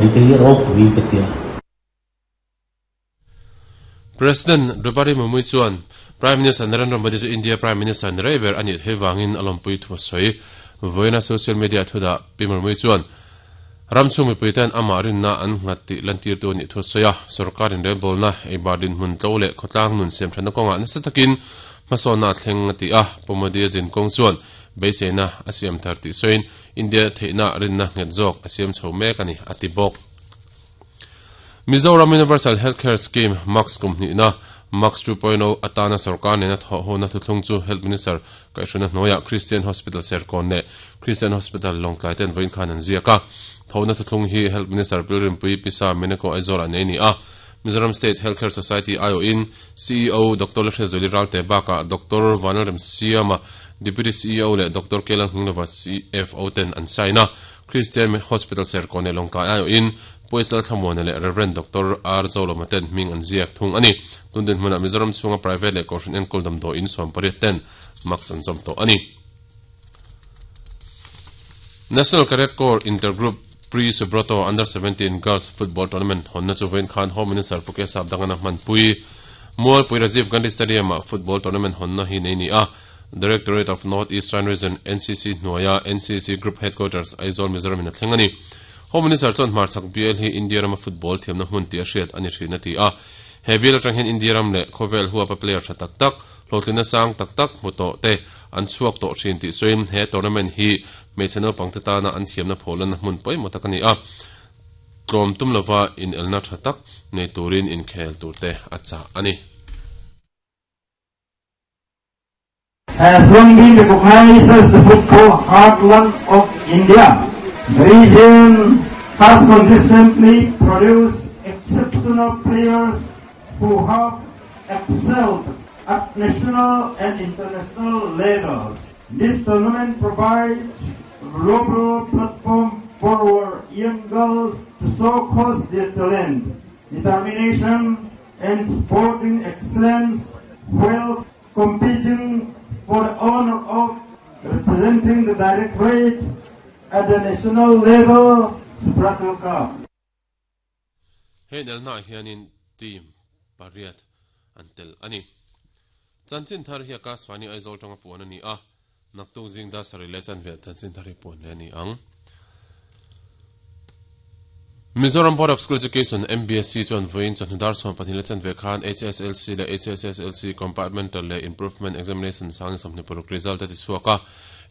Hei hi ropui ka ti a. President Draupadi Murmu chuan Prime Minister Narendra Modi chu India Prime Minister ni rei ber a nih theih vangin a lawmpui thu a sawi. Vawiina social media thudah Pi Murmu chuan ram chhung mipuiten amah rinna an nghat tih lantirtu a nih thu a sawi a. Sorkar inrelbawlna, eibar dinhmun tlo leh khawtlang nun siamthatna kawngah nasa takin hmasawnna a thleng a ti a. Pu Modi a zin kawng chuan beiseina a siam thar tih sawiin India theihna rinna nghet zawk a siam chho mek a ni, a ti bawk. Mizoram Universal Healthcare Scheme, MACS kum hnihna, MACS 2.0, atana sorkar nena thawhhona thuthlung chu Health Minister kaihhruna hnuaiah Christian Hospital Serkawn leh Christian Hospital Lawngtlai ten vawiin khan an ziak a. Thawhna thuthlung hi Health Minister Pilrimpui Pisa Meneko Aizawlah nei a ni a. Mizoram State Healthcare Society aiawhin CEO Doctor Lalhriatzuali Ralte bakah Doctor Vanlalremsiama, Deputy CEO leh Doctor Kelang Hminglova, CFO ten an sign a. Christian Hospital Serkawn leh Lawngtlai aiawhin Puaisal Thlamuana leh Rev. Doctor R. Zolawma ten hming an ziak thung a ni. Tun dinhmunah Mizoram chhunga private leh Kohhran enkawl damdawiin 18 ten mask an zawm tawh a ni. National Cadet Corps Intergroup Pre-Subroto Under 17 Girls Football Tournament hawnna chu vawiin khan Home Minister Pu Kesap Dangana hmanpui Mualpui Rajiv Gandhi Stadium-ah football tournament hawnna hi nei ni a. Directorate of North Eastern Region, NCC, hnuaia NCC Group Headquarters, Aizawl, Mizoram in a thleng a ni. Home Minister chuan hmarchhak bial hi India rama football thiamna hmun tih a hriat a ni thin a ti a. He bial atang hian India ram leh khawvel huapa player tha tak tak, hlawhtlinna sang tak tak hmu tawh te an chhuak tawh thin tih sawiin he tournament hi hmeichhe naupangte tana an thiamna phawhlanna hmun pawimawh tak a ni a, tlawm tum lova inelna tha tak nei turin inkhel turte a chah a ni. Has long been recognized as the football heartland of India. The region has consistently produced exceptional players who have excelled at national and international levels. This tournament provides a global platform for our young girls to showcase their talent, determination, and sporting excellence while competing for the honor of representing the directorate at the national level Subroto Cup. He inelnaah hianin team pariat an tel a ni. Chanchin thar hi Akashvani Aizawl tanga puan a ni a, naktuk zing dar sarih leh chanve chanchin thar hi puan leh a ni ang. Mizoram Board of School Education, MBSE, chuan vawiin chawhnu dar 12 leh chanve khan HSLC leh HSSLC Compartmental leh Improvement Examination sang 26 result a ti chhuak a.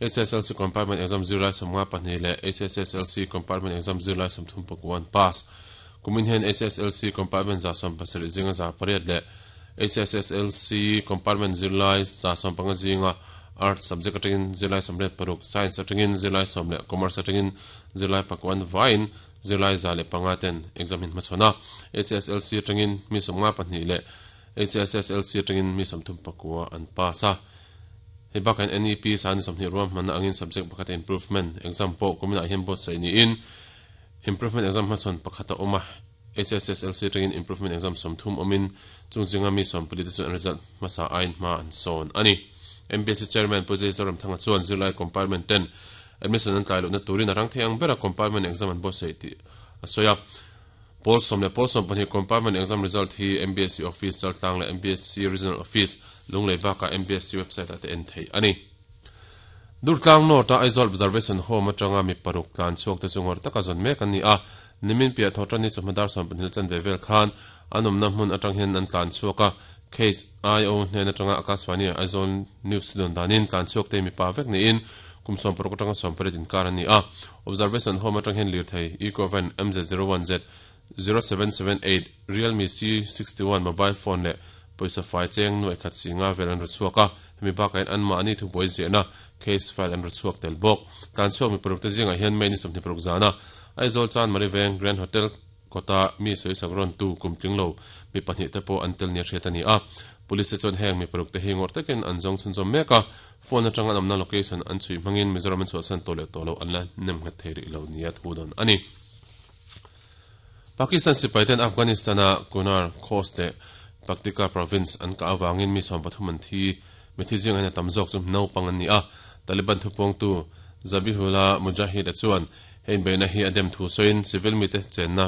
HSLC Compartment Exam zirlai 52 leh HSSLC Compartment Exam zirlai 39 an pass. Kumin hian HSLC Compartment 70 zinga 8 leh HSSLC Compartment zirlai 15 zinga Arts subject atangin zirlai 86, Science atangin zirlai 10 leh Commerce atangin zirlai pakuan vaiin zirlai 105 ten exam hin hmachhawn a. HSLC atangin mi 52 leh HSSLC atangin mi 39 an pass a. Hei bakah hian NEP sani 20 ruahmanna angin subject pakhata improvement exam pawh kuminah hian buatsaih niin improvement exam hmachhawn pakhat a awm a, HSSLC atangin improvement exam 30 awmin chung zinga mi 14 te chuan an result hmasa aiin hma an sawn a ni. MBSC Chairman Pu Jay Zoramthanga chuan zirlai compartment ten admission an tlai lohna turin a rang thei ang bera compartment exam an buatsaih tih a sawi a. Pawl sawm leh pawl 12 compartment exam result hi MBSC Office Chaltlang leh MBSC Regional Office, Lunglei bakah MBSC website ah te en theih a ni. Durtlang North a Aizawl Observation Home atanga mi paruk tlan chhuak te chu ngawrh taka zawn mek an ni a, nimin piah thaw tan ni chawhma dar 12 chanve vel khan an awmna hmun atang hian an tlan chhuak a, case IO hnen atanga Akashvani Aizawl News dawn danin tlan chhuak te mipa vek niin kum 60 atanga 18 inkar an ni a. Observation Home atang hian lirthei Ecovan MZ01Z 0778, Realme C61 mobile phone leh pawisa fai cheng nuaih khat si nga vel an ru chhuak a, hemi bakah hian anmahni thubuai ziahna case file an ru chhuak tel bawk. Tlan chhuak mi paruk te zingah hian May ni 26 zana Aizawl Chanmari Veng Grand Hotel kawta mi sawisak rawn tu kum tling lo mi pahnih te pawh an tel nia hriat a ni a. Police te chuan heng mi paruk te hi ngawrh takin an zawng chhunzawm mek a, phone atanga an awmna location an chhui hmangin Mizoram an chhuahsan tawh leh tawh lo an la nem nghet thei rih lo nia thu dawn a ni. Pakistan sipaiten Afghanistan-a Kunar, Khost leh Paktika province an kah avangin mi 13 an thi. Mithi zingah hian a tam zawk chu naupang an ni a. Taliban thupuangtu Zabihullah Mujahid-a chuan. He inbeihna hi a dem thu sawiin civil mite chenna.